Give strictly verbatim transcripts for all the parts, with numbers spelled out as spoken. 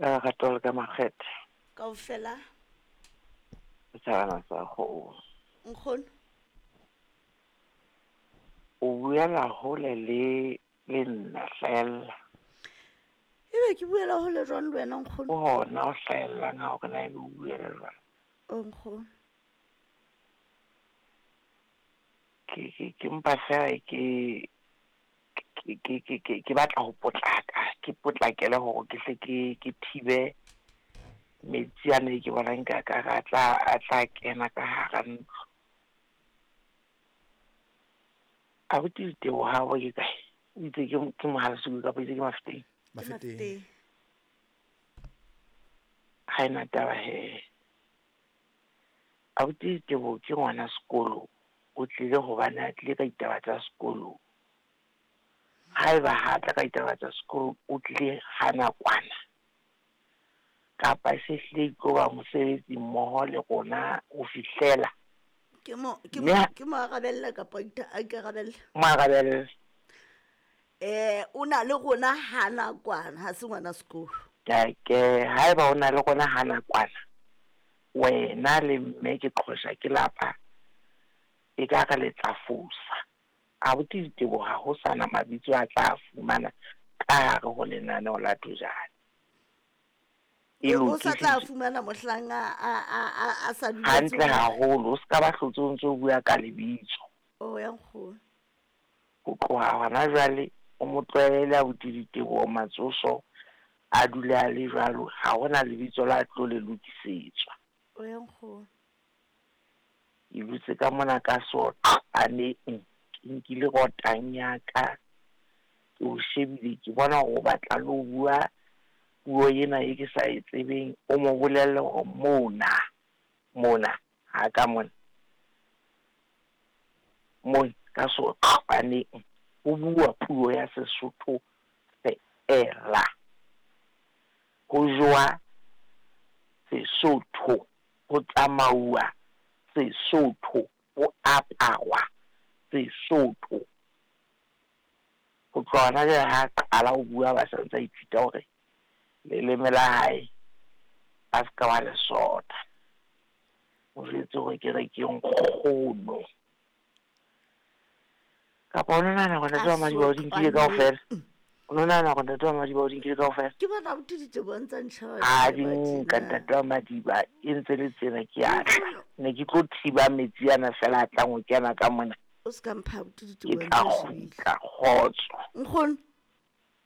Ka lerato le ka makgethe. Kaofela. Setjhabana sa kgomo. Nkgono. O buela hole le le nna hlahella. Ebe ke buela hole jwang le wena nkgono? Ke hona o hlahellang ha hore na ebe o buela jwang. O nkgono. Ke ke ke mpa fela ke ke ke ke ke ke batla ho potlaka, ke potlakele hore ke hle ke ke thibe metsi ana e ke bonang ka ka a tla a tla kena ka hara ntlo. Abuti Diteboho habo ke kae? O itse ke ke Mohale'shoek kapa itse ke Mafeteng? Mafeteng. Ha ena taba he. Abuti Diteboho ke ngwana sekolo, o tlile hobane a tlile ka ditaba tsa sekolo. Haeba ha tla ka ditaba tsa sekolo, o tlile ha nakwana. Kapa se hlile e tlo ba mosebetsi mmoho le rona ho fihlela. Ke mo ke Mme mo ha- ke mo arabella kapa a ikarabella? Mo arabelle. Eh o na le rona ha nakwana, ha se ngwana sekolo. Ke ke haeba o na le rona ha nakwana, wena le mme ke qhosha ke lapa, e ka re le tla fosa. Abuti Diteboho ha ho sana mabitso a tla fumana ka hare ho lenaneo la Thojane. E O sa tla lokisitswe. fumana mohlang a a a a a sa duletse Hantle hore- haholo, o ska ba hlotse o ntso bua ka lebitso. Oh ya nkgono. Ho tloha hona jwale o mo tlwaele abuti Diteboho Matsoso a dule a le jwalo, ha hona lebitso la tlo le lokisetswa. O ya nkgono. Ke dutse ka mona ka soqaneng, ke nkile rotang ya ka, ke o shebile ke bona hore o batla le ho bua puo ena e ke sa e tsebeng, o mo bolelle hore mona, mona, ha ka mona. Mona ka soqaneng ho bua puo ya Sesotho feela. Ho jowa Sesotho, ho tsamauwa Sesotho, ho aparwa Sesotho. Ho tloha hona jwale ha qala ho bua ba sa ntse a ithuta hore leleme la hae a ska wa le sotha. O jwetse hore ke re ke nkgono. Kapa o no nahana hore ntate wa Madiba o di nkile kaofela? O no nahana hore ntate wa Madiba o di nkile kaofela? Ke bona abuti Diteboho a ntsa ntjheba Ha di tjena. nka ntate wa Madiba e ntse le tsena ke a tla. Ne ke tlo thiba metsi ana fela a tlang ho kena ka mona. O ska mpha abuti Ke Diteboho tla ntse a shebile. kgutla kgotso. Nkgono.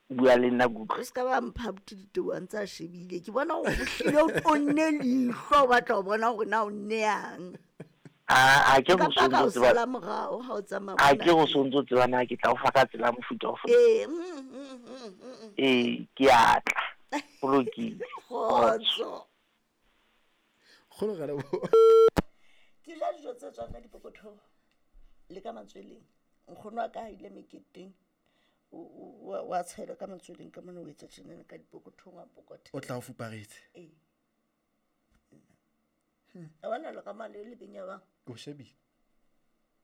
Bua le nna ke utlwe. O ska ba mpha abuti Diteboho a ntse a shebile. Ke bona hore o hlile o tonne leihlo, o batla ho bona hore na o nneyang. A a ke Nka go paka sontso o tseba. sala morao ha o tsamaya A mona ke go teng. sontso tseba na ke tla o fa ka tsela mofuta ofe. Ee, mm, mm, mm, mm. Ee, ke a tla. Ho lokile. Kgotso. Kgolo ga leboha. Ke ja dijo tse tswang ka dipokothong le ka matsweleng. Nkgono wa ka ha ile meketeng, o, o, wa, wa tshela ka matsweleng ka mona, o etsa tjenana ka dipokothong, wa pokothela. O tla o fuparetse. Ee. A bona le ka mane le benya bang. Ke o shebile.